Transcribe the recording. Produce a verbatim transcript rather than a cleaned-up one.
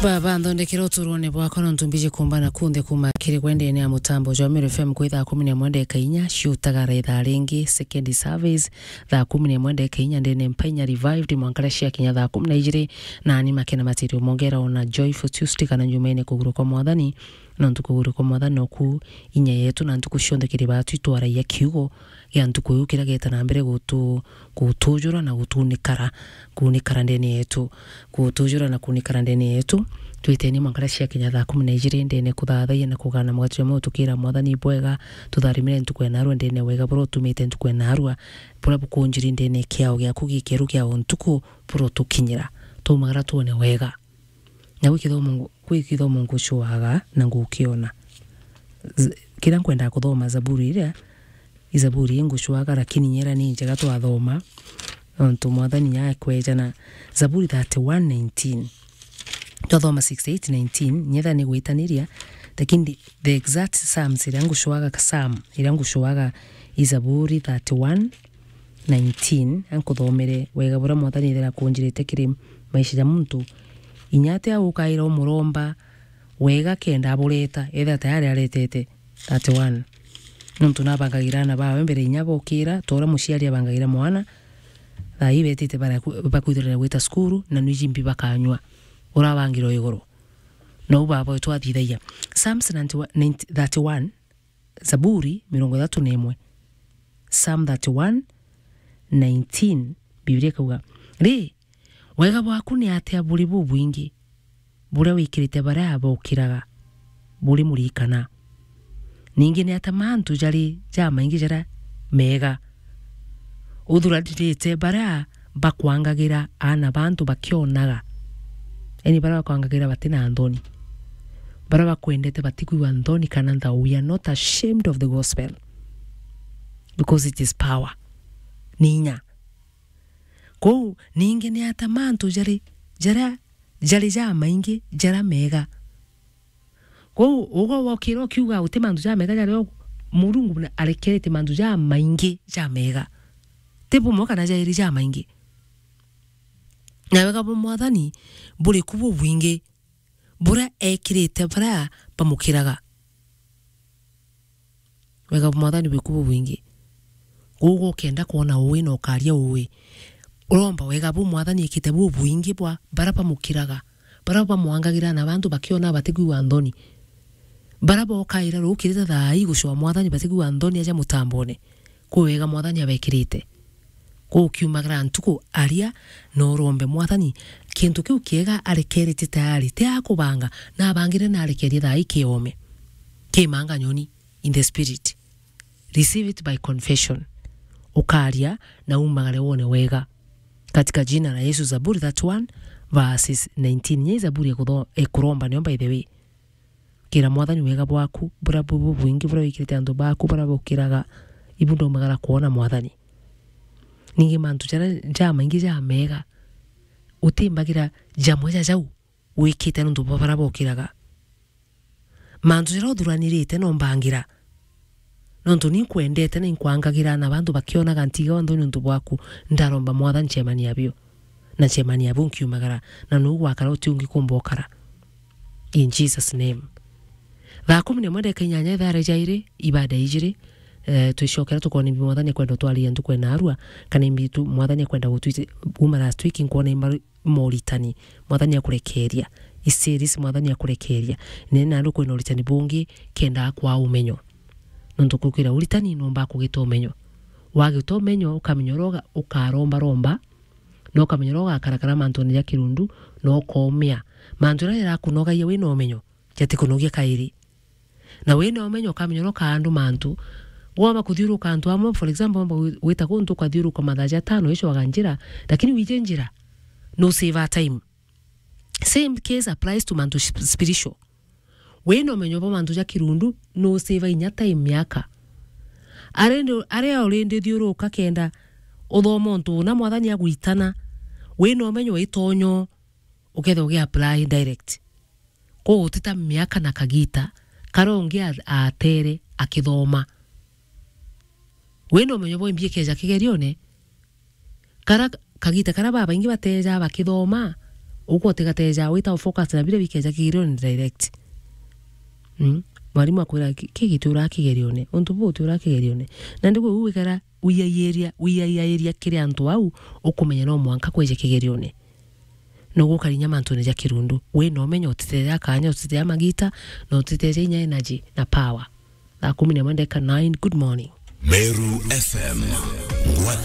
Baba, nthondekere uturone bwakwa, nontu mbiji kumbana kunthe kuuma kiri gwe ndene ya mutambo jwa Meru F M kwi thaa kumi na imwe ndeka inya, ciutagara ithaa ringi, second service, thaa kumi na imwe ndeka inya ndene mpainya revived, mwanka riria ciakinya thaa kumi na ijiri, nani makena matirio mongera ona Joyful Tuesday kana Njumene kuguru kwa Mwathani, nontu kuguru kwa Mwathani noku inya yetu, na ntuku cionthe kiri batu itwaragia kiugo gia ntuku iu kiria geta na mbere gutu-, gutujura na gutunikara, kunikara ndene yetu, gutujura na kunikara ndene yetu. Twiteni mwanka riria ciakinya thaa kumi na ijiri ndene kuthathayia na kugana mugate jwa muoyo tukira Mwathani bwega, tutharimire ntuku ya narua ndene wega buria utumite ntuku ya narua, buria bukunjiri ndene kiao giaku gikeru kia o ntuku buria utukinyira. Tumagara tuone wega. Na gwi kithomo ngu-, gwi kithomo ngucuaga na ngukiona. Z-, kiria nkwenda kuthoma Zaburi iria, i Zaburi ingucuaga, lakini nyera ni njega twathoma, nontu Mwathani akweja na Zaburi thirty-one nineteen. Twathoma sixty-eight nineteen, nyetha ni gwitaniria, lakini the, the exact Psalms iria ngucuaga, ka Psalm iria ngucuaga i Zaburi thirty-one nineteen, ankuthomere wega buria Mwathani ethira akunjirite kiri maisha ja muntu. Inya atia ukaira umuromba wega kenda abureta, ethira tayari aretete. Thirty-one. Nontu nabangagira aana bawe mbere inya bokira, ta uria muciari abangagira mwana, thaa ii betite bara-, bakwithirira gwita cukuru, na nwiji mbi bakanyua. Urabangirwa iguru. Nou baba wetu athithagia. Psalms ninety-one, ninety, thirty-one, Zaburi mirongo ithatu na imwe. Psalm thirty-one nineteen, Biblia ikauga, "Ri, wega bwaku ni atia buri bubwingi, buria wikirite baria bokiraga buri murikana? Ningi ni atia mantu jari jamaingi jaria mega uthuranirite baria bakwangagira aana ba antu bakionaga?" Yani, baria bakwangagira bati na nthoni, baria bakwendete batikwigua nthoni kana nthao. We are not ashamed of the gospel, because it is power. Ni inya. Kou, ningi ni atia mantu jari, jaria, jari jamaingi jaria mega? Kou, ugo wokira ukiuga uti mantu jamega jaria u-, Murungu na arekerete mantu jamaingi jamega. Ti bumwe kana jairi jamaingi. Na wega bwa Mwathani buri ku bubwingi, buria ekirite baria bamukiraga. Wega bwa Mwathani buri ku bubwingi. Ugo ukenda kwona uwi na ukaria uwi, uromba wega buu Mwathani ekite bubwingi bwa baria bamukiraga, baria bamwangagira na bantu bakiona batikwigua nthoni. Baria bokaira rukirite thaa ii gucwa Mwathani batikwigua nthoni aja mutambone. Kwi wega Mwathani abekirite. Kuu kiumagara ntuku aria na urombe Mwathani kintu kiu kiega arekerete tayari, ti akubanga, na abangire na arekerie thaa ii kiome. Kimanga nyoni in the spirit. Receive it by confession. Ukaria na umagare wone wega. Katika jina la Yesu, Zaburi thirty-one, verses nineteen. Nya i Zaburi ekutho-, ekuromba nio, by the way. Kira Mwathani wega bwaku, buria bu-, bubwingi buria wikirite antu baku baria bukiraga, ibu ndaumagara kwona Mwathani. Ningi mantu jaria jamaingi jamega, utimbagira jamwe ja jau wikite nontu bwa baria bokiraga. Mantu jaria uthuranirite no mbangira. Nontu ni nkwendete na inkwangagira na bantu bakionaga ntiga o nthoni nontu bwaku, ndaromba Mwathani ncemania bio. Na ncemania bu nkiumagara, na nuu gwakara uti ungi kumba ukara. In Jesus' name. Thaa kumi na imwe ndeka inyanya, ithaa ria jairi, ibada ijiri, eh, twicokera tukona imbi Mwathani akwenda utwariria ntuku ya narua, kana imbi tu Mwathani akwenda gutwite. Kuma last week nkwona imba moritani, Mwathani akurekeria. I series Mwathani akurekeria. Nene nandu kwina uritani bungi, kenda akwaa umenyo. Nontu kukwira uritani numba kugita umenyo. Wagita umenyo, ukamenya uria uga-, ukaromba romba, na ukamenya uria ugakarakara mantune ja kirundu, na ukomea. Mantu jaria jarakunogagia wina umenyo, jatikunogia kairi. Na wina umenyo ukamenya uria ukaandu mantu. Womba kuthiuruka antu amwe, for example, womba gwi-, gwita kuntu ukathiuruka mathaa jatano icwaga njira, lakini wiji njira, no save time. Same case applies to mantu sp-, spiritual. Wina umenyo bwa mantu ja kirundu, no save inya time miaka. Arindi, aria urindi thiuruka kenda uthoma untu una Mwathani agwitana, wina umenyo witonyo, ukethirwa ugi apply direct. Kuu utita miaka na kagita, karia ungi a-, atere akithoma. Wina umenyo bwa imbi ikeja kigerione, karia kagita karia babaingi bateja bakithoma, Uko utigateja, wita focus na bira bikeja kigerione direct. Mm? Mwarimu akwira, "Ki-, ki gituraa kigerione? Untu buu utiuraa kigerione?" Na ndigwe u wikara wiyairia, wiyairia kiri antu au, ukumenya no mwanka kweje kigerione. Nugukari nya mantune ja kirundu. We no menya utiteja kanya, utiteja magita, na utiteja inya energy na power. Thaa kumi na imwe ndeka nine, good morning. Meru F M, ngwataniro